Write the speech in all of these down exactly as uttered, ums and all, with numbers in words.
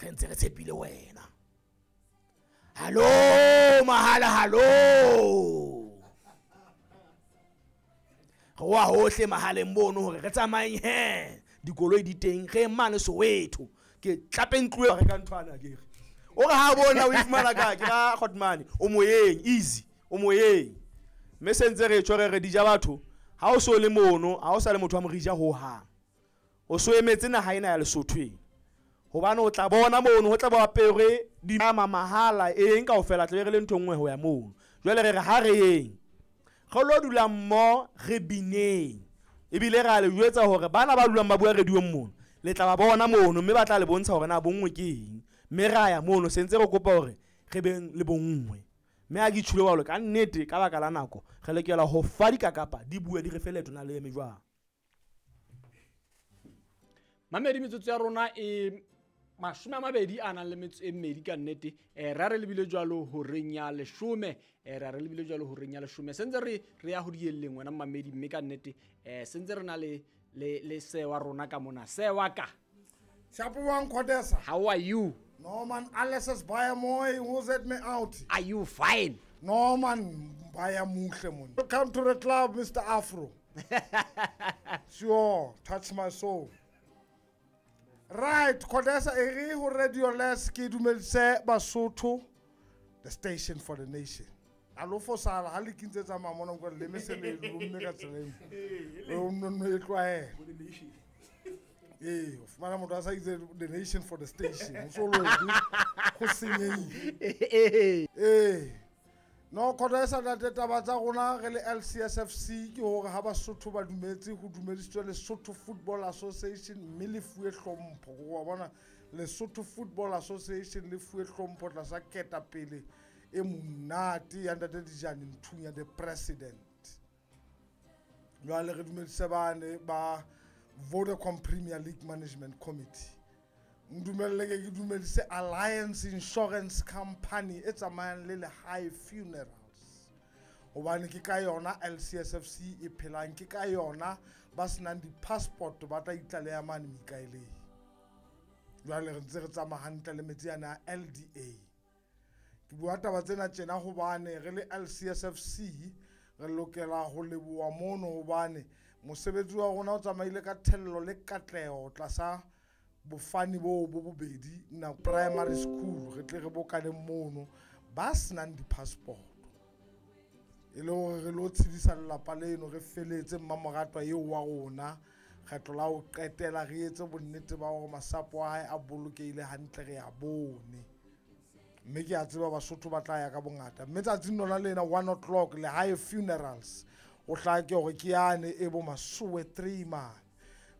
Re ntse re tshepile wena. Hallo mahala hallo. Re wa hohle mahaleng mono hore re tsamayeng he. Dikoloi di teng re mane Soweto. Ke tlapeng tloe re ka nthwana ke re. O re ha bona o ifumana ka ke ra Khotmane o moyeng easy o moyeng. Mme se ntse re tjho re re dija batho ha o so le mono ha o sa le motho wa morija ho hang. O so emetse naha ena ya Lesotho. Hobane o tla bona mono ho tla ba apere di ama mahala eng kaofela tla be re le ntho nngwe ho ya mono. Jwale re re ha re yeng. Re lo dula mmoho re bineng. Ebile ra le jwetsa hore bana ba dulang ba bua radio-ong mono le tla ba bona mono mme ba tla le bontsha hore na bonngwe ke eng. Mme ra ya mono se ntse re kopa hore re beng le bonngwe. Mme ha ke tjholo jwalo ka nnete ka baka la nako re lokela ho fa dikakapa di bue di re fe leeto na le eme jwang. Mamedi metsotso ya rona e mashome a mabedi a nang le metso e mmedi ka nnete. Eh ra re lebile jwalo horeng ya leshome, eh ra re lebile jwalo horeng ya leshome. Sentse re re ya ho dielleng wena mamedi mme ka nnete eh sentse re na le le le sewa rona ka mona. Sewa ka. Shapuang Khodesa. How are you? No man, alles is baie mooi. Who's let me out? Are you fine? No man, baie muhle mon. Welcome to the club, Mister Afro. Sure, touch my soul. Right, Khodesa ere ho Radio Les ke dumedise Basotho, the station for the nation. A lo fosala ha le kintse tsa mamona ko le me se le lomme ka tseleng. O nno no e tlwaela. Eh, o fumana motho a sa itse the nation for the station. O so lo go senyehile. Eh. No Khodesa ntate taba tsa rona re le L C S F C ke hore ha Basotho ba dumetse ho dumedisitswe Lesotho Football Association mme le fuwe hlompho. Wa bona Lesotho Football Association le fuwe hlompho tlasa ketapele e monate ya ntate Dijane Nthunya the president. Jwale re dumedise bane ba Vodacom Premier League Management Committee. Ndumelle ke ke dumedise Alliance Insurance Company e tsamayang le Lehae Funerals. Hobane ke ka yona L C S F C e phelang, ke ka yona ba senang di-passport ba tla itlaleha mane Mikaeleng. Jwale re ntse re tsamaya hantle le metsi ana a L D A. Ke bua taba tsena tjena hobane re le L C S F C re lokela ho leboha mono hobane mosebetsi wa rona o tsamaile ka thello le katleho tlasa bofani bo bo bobedi na primary school re tle re bokane mono ba senang di-passport. E le hore re lo tshedisa lelapa leno re feletse mmamoratwa eo wa rona kgetlo la ho qetela re etse bonnete ba hore masapo a hae a bolokehile hantle re a bone. Mme ke a tseba Basotho ba tla ya ka bongata. Mme tsatsing lona lena one o'clock Lehae Funerals o hlake hore ke yane e bo Masowe three man.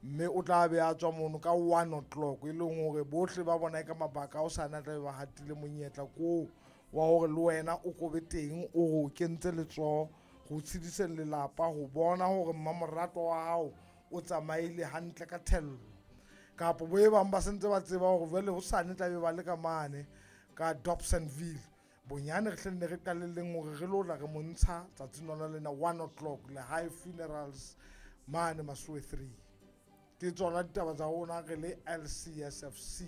Mme o tla be a tswa mono ka one o'clock e leng hore bohle ba bona ka mabaka a o sa na tla be ba hatile monyetla koo wa hore le wena o kobe teng o ho kentse letsoho ho tshediseng lelapa ho bona hore mmamoratwa wa hao o tsamaile hantle ka thello. Kapa bo e bang ba sentse ba tseba hore jwale hosane tla be ba le ka mane ka Dobsonville. Bonyane re hle ne re qalelleng hore re lo tla re montsha tsatsing lona lena one o'clock Lehae Funerals mane Masowe three. Ke tsona ditaba tsa rona re le L C S F C.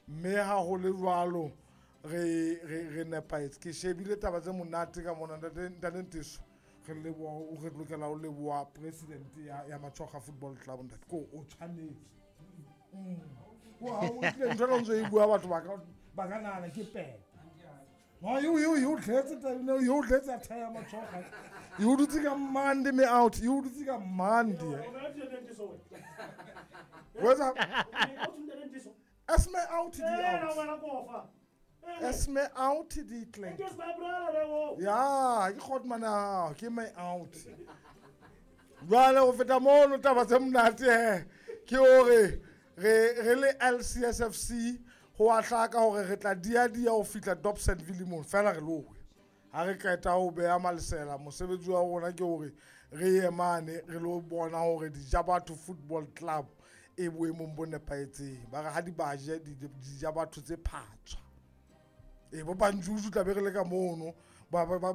Mme ha ho le jwalo re re re nepahetse. Ke shebile taba tse monate ka mona ntate ntate Nteso. Re leboha o re lokela ho leboha president ya ya Matshoga Football Club ntate. Ko o tshwanetse. Mm. Wa o tle ntho ena o ntse e bua batho ba ka ba ka nahana ke pele. No, you you you tletse taba ena, you tletse a thaya Matshoga. You dutse ka Monday me out. You dutse ka Monday. What's up? As me out di out. As me out di tle. Ya, ke Khotmana, ke me out. Jwale ho feta mono taba tse monate he. Ke hore re re le L C S F C ho a hlaka hore re tla dia dia ho fihla Dobsonville mono fela re lowe. Ha re qeta ho beha malesela mosebetsi wa rona ke hore re ye mane re lo bona hore Dijabatho Football Club e boemong bo nepahetseng. Ba re ha di baje Dijabatho tse phatswa. E bo Banjuju tla be re le ka mono ba ba ba